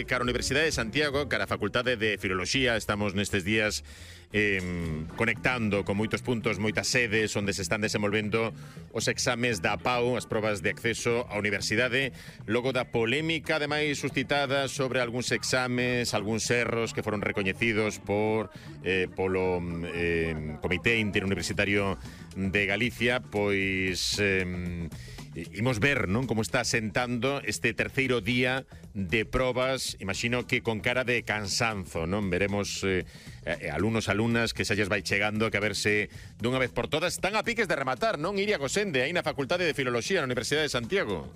Cara a Universidade de Santiago, cara a Facultade de Filoloxía, estamos nestes días conectando con moitos puntos, moitas sedes onde se están desenvolvendo os exames da PAU, as probas de acceso á universidade, logo da polémica ademais suscitada sobre algúns exames, algúns erros que foron recoñecidos polo Comité Interuniversitario de Galicia, pois imos ver, non, como está sentando este terceiro día de probas, imagino que con cara de cansanzo, non? Veremos alumnos, alumnas que se lles vai chegando, que a verse dunha vez por todas están a piques de rematar, non, Iria Gosende, aí na Facultade de Filoloxía na Universidade de Santiago?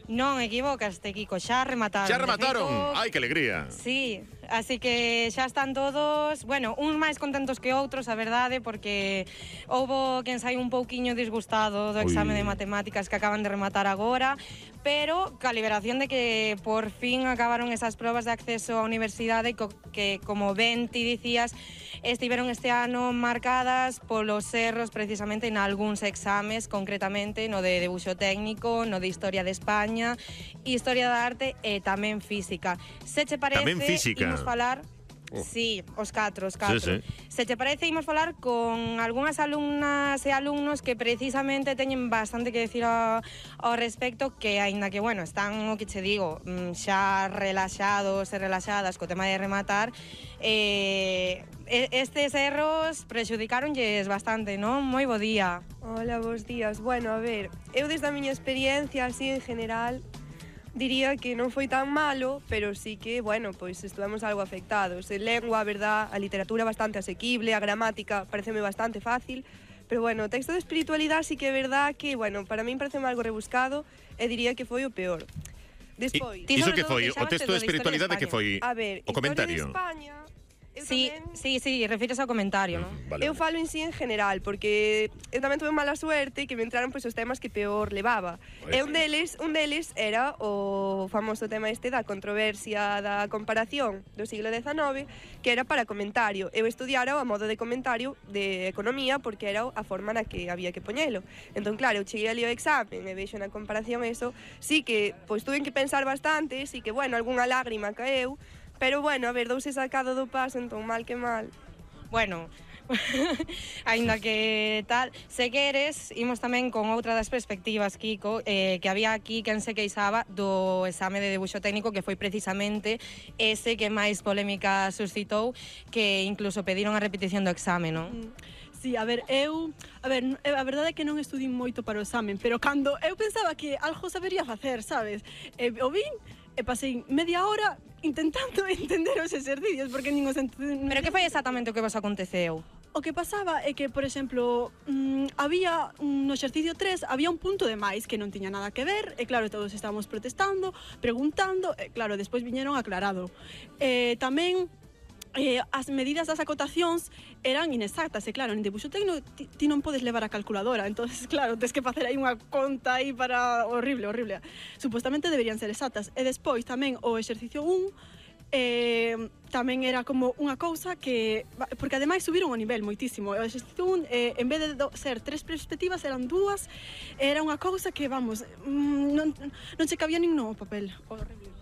Non, equivocaste, Kiko, xa remataron. Xa remataron? Ai, que alegría. Sí, así que xa están todos, bueno, uns máis contentos que outros, a verdade, porque houbo quen sai un pouquiño disgustado do exame de matemáticas que acaban de rematar agora, pero ca liberación de que por fin acabaron esas probas de acceso á universidade que, como ben ti dicías, estiveron este ano marcadas polos erros precisamente en algúns exames, concretamente no de debuxo técnico, no de Historia de España, Historia da Arte e tamén Física. Se che parece, tamén Física. Imos falar... Sí, os catro. Sí. Se te parece, imos falar con algunhas alumnas e alumnos que precisamente teñen bastante que decir ao respecto, que aínda que, bueno, están, o que che digo, xa relaxados e relaxadas co tema de rematar, estes erros prexudicaronlles bastante, non? Moi bo día. Hola, bos días. Bueno, a ver, eu desde a miña experiencia, así en general, diría que non foi tan malo, pero sí que, bueno, pois estuvemos algo afectados. En lengua, a verdad, a literatura bastante asequible, a gramática pareceme bastante fácil, pero bueno, o texto de espiritualidade sí que é verdad que, bueno, para min pareceme algo rebuscado e diría que foi o peor. Despois... Iso que foi? O texto de espiritualidade que foi? A ver, o comentario? Historia de España... Sí, refires ao comentario, non? Vale, eu falo en sí en general, porque eu tamén tuve mala suerte que me entraron pois os temas que peor levaba. E un deles era o famoso tema este da controversia da comparación do siglo XIX, que era para comentario. Eu estudiara a modo de comentario de economía porque era a forma na que había que poñelo. Entón, claro, eu cheguei ali ao examen e vexo na comparación eso, sí que pois tuve que pensar bastante, sí que, bueno, algunha lágrima caeu, pero, bueno, a ver, douse sacado do paso, entón, mal que mal. Bueno, aínda que tal, se queres, imos tamén con outra das perspectivas, Kiko, que había aquí quen se queixaba do exame de debuxo técnico, que foi precisamente ese que máis polémica suscitou, que incluso pediron a repetición do exame, non? Sí, a verdade é que non estudín moito para o examen, pero cando eu pensaba que algo sabería facer, sabes? O vin e pasei media hora intentando entender os exercicios, porque nin os entendí. Pero que foi exactamente o que vos aconteceu? O que pasaba é que, por exemplo, había no exercicio 3, había un punto de máis que non tiña nada que ver, e claro, todos estábamos protestando, preguntando, e claro, despois viñeron aclarado. Tamén as medidas das acotacións eran inexactas, e claro, en debuxo técnico ti non podes levar a calculadora, entonces claro, tens que facer aí unha conta aí para... horrible. Supostamente deberían ser exactas. E despois tamén o exercicio 1 tamén era como unha cousa que... porque ademais subiron o nivel moitísimo. O exercicio 1, en vez de ser 3 perspectivas, eran 2, era unha cousa que, vamos, non se cabía nin no papel. Horrible.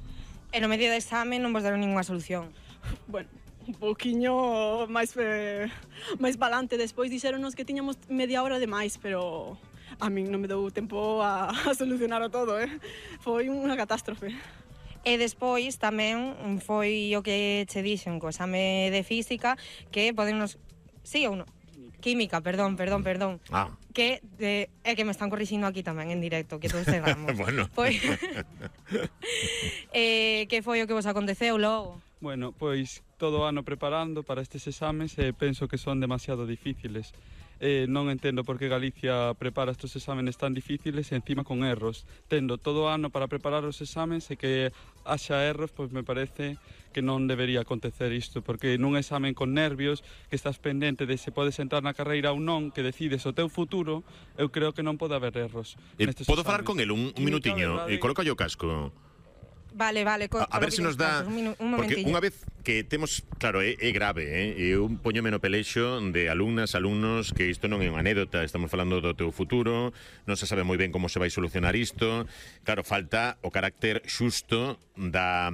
E no medio do exame non vos deron ninguna solución? Bueno, un pouquiño máis balante. Despois dixéronos que tiñamos media hora de máis, pero a min non me deu tempo a solucionar todo, Foi unha catástrofe. E despois tamén foi o que che dixen co exame de Física, que podemos... Sí ou non? Química, perdón. Que é que me están corrixindo aquí tamén en directo, que todos chegamos. Bueno. Que foi o que vos aconteceu logo? Bueno, pois todo o ano preparando para estes exames e penso que son demasiado difíciles. Non entendo por que Galicia prepara estes exámenes tan difíciles e encima con erros. Tendo todo o ano para preparar os exames e que haxa erros, pois me parece que non debería acontecer isto, porque nun examen con nervios, que estás pendente de se podes entrar na carreira ou non, que decides o teu futuro, eu creo que non pode haber erros. Podo falar con el un minutiño? Coloca o casco. Vale. A ver se nos dá... Porque unha vez que temos... Claro, é grave, Eu poñome no pelexo de alumnas, alumnos, que isto non é unha anécdota, estamos falando do teu futuro, non se sabe moi ben como se vai solucionar isto. Claro, falta o carácter xusto da